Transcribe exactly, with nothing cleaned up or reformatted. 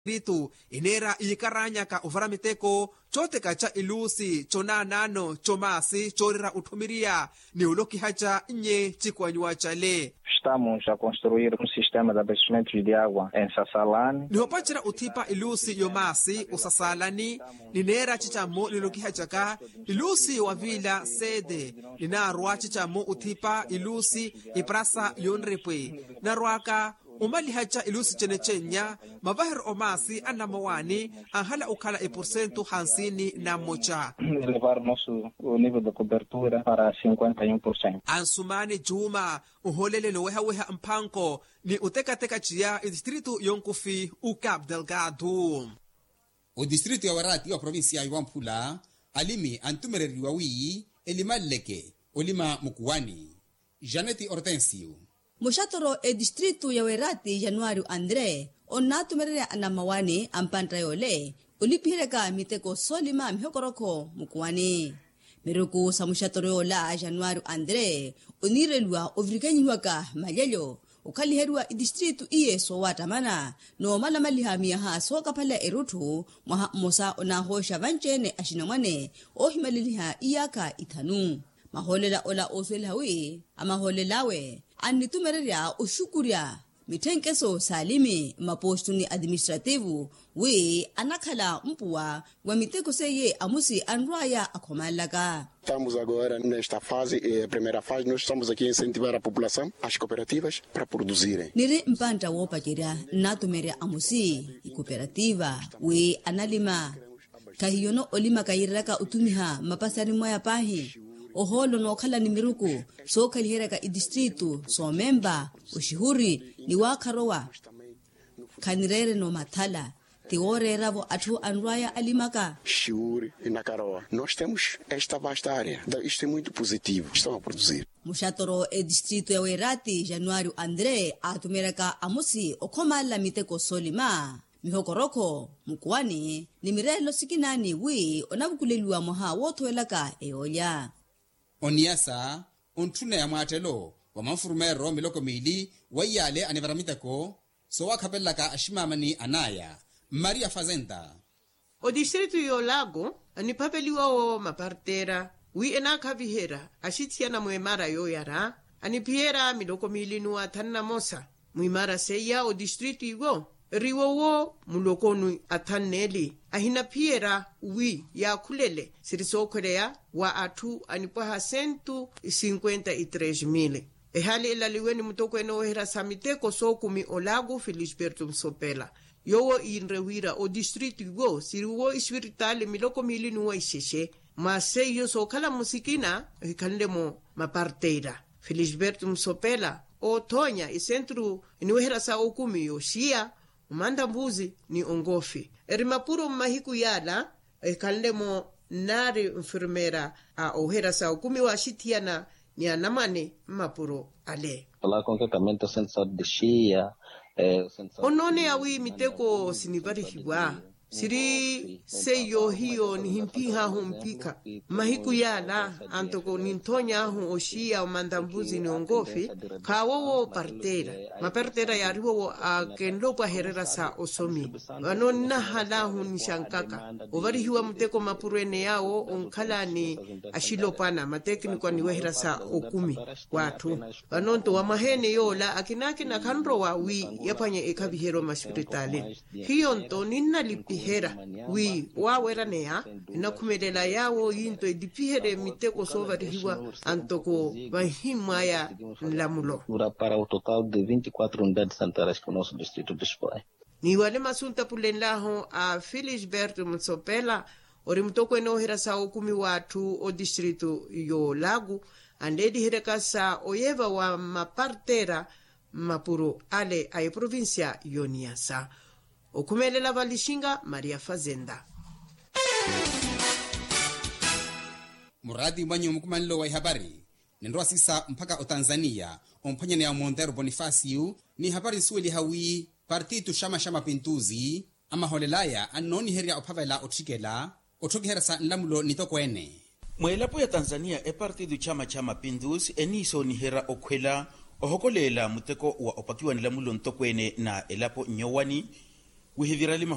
distritu eneera iikaranyaka ovara miteko cootekaca iluusi conaanaano comaasi coorira otthumiriya ni olokihaca nnye cikwanyiwa cale. Estamos a construir um sistema de abastecimento de água em sassalani. Nihopacerya othipa iluusi yomaasi osasaalani nineera cicammo nilokihacaka iluusi yowaviila seede ninaarwa cicammo othipa iluusi iprasa yonrepwe narwaka omalihaca iluusi cene cennya mavahero omaasi a nnamowaani anhala okhala eporsentu hansini na mmoca. Elevar nosso nível de cobertura para cinquenta e um por cento. Ansumaani juuma ohoolele nowehaweha mphanko ni otekateka ciya etistritu yonkufi ucap delgado. Odistritu ya werati wa provincia ya wamphula alimi antumereriwa wi elimaleleke olima mukuwani. Janeti hortensio. Muxatoro etistritu ya werati januario andre onnatumererya anamawani a mpantta yoole olipiheryaka miteko soolima mihokorokho mukuwani. Miruku sa muxatoro yoola januario andre oniireliwa ovirikanyihiwaka malyelyo okhaliheriwa itistritu iye soowattamana noomalamaliha miyaha sookaphala erutthu mwaha mmosa onahooxa vanci-ene axinamwane oohimaleliha iyaakha ithanu. Mahoolela ola oosuweliha wi amahoolel'awe annitumererya oxukurya mitthenkeso s'alimi mmapostu ni atiministrativu wi anakhala mpuwa wa miteko seiye amusi anrw'aya akhomanlaka. Estamos agora nesta fase primeira fase nós estamos aqui a incentivar a população as cooperativas para produzirem. Niri mpantta woopacerya nnatumerya amusi ikoperativa wi analima. Khahiyono olimaka yiireryaka otumiha mmapasani mwaya paahi ohoolo nookhala ni miruku sookhaliheryaka itistritu soomempa oxihuri ni waakharowa. Khanireereno mathala ti wooreera-vo atthu anrw'aya alimaka. Xiuri inakarowa nós temos esta vasta área. Isto é muito positivo estamos a produzir. Muxatoro etistritu ya werati januario andre aatumeryaka amusi okhomanla miteko soolima mihokorokho mukuwani ni mireelo sikina ni wi onavukuleliwa mwaha woothowelaka eyoolya. Oniyasa ontthuneya mwaattelo wa manfurumeerero miloko miili wa iyaale anivara miteko soowakhapelelaka aximaamani an'aya. Maria fazenda. Odistritu y'olago aniphapeliwa wo mapartera wi enaakhaviherya axithiyana mw'emara yooyara aniphiyerya miloko miili n'uwa athanu na mosa. Mw'imara seiya odistritu iwo eriwo wo muloko ni athanu n'eli ahinaphiyerya wi yaakhulele siri sookhweleya wa atthu anipwaha sentu cinquenta e tres mil. Ehaali elaliwe ni mutokweene ooweherya sa miteko sookumi olago felisberto musopela yoowo iinre wira odistritu iwo siriwo ispiritaali miloko miili n'uwa ixexe mwa seiyo sookhala musikina ehikhanle-mo maparteira. Felisberto musopela oothoonya esentru eniweherya sa okumi y'oxiya omantambuzi ni onkofi eri mapuro mmahiku yaala ehikhanle-mo nnaari nfirmeera a oweherya sa okumi waaxithiyana ni anamwane mmapuro ale. Onooneya wi miteko sinivarihiwa siri seiyo hiyo nihimpih'ahu mpikha mmahiku yaala antoko ninthoony'ahu oxiya omantambuzi ni onkofi khaawowo parteera maparteera yaariwowo akenle opwahererya sa osomi. Vano nnahal'ahu nixankaka ovarihiwa muteko mapuro ene yaawo onkhala ni axilopwana matekniko aniweherya sa okumi w'atthu. Vano-nto wa mwaha ene yoola akinaakina khanrowa wi yaphwanye ekhaviheryo mmaxipiritaali. Hiyo-nto ninnalipiherya wi waaweraneya enakhumelela yaawo yi-nto elipiherye miteko soovarihiwa antoko vanhimmw'aya nlamulo. Para o total de vinte e quatro unidades sanitárias que o nosso distrito dispõe. Ni wale masu ntapulenlahu a felisberto musopela ori mutokweene ooherya sa okumi w'atthu odistritu y'olago anleeliheryaka sa oyeva wa maparteera mmapuro ale a eprovincia y'oniyasa. Okhumelela valixinga maria fazenda. Muraati mwanyu mukumanelo wa ihapari ninrowa siisa mpakha otanzaniya omphwanyaneya omontero ponifasiyu. Ni ihapari nsuweliha wi partitu xama xa mapintuzi amahoolel'aya annooniherya ophavela otthikela otthokiherya sa nlamulo nitokweene. Mw'elapo ya tanzaniya epartitu xama xa mapintuzi eniisooniherya okhwela ohokoleela muteko wa opakiwa nlamulo ntokweene na elapo nyowani wihivirali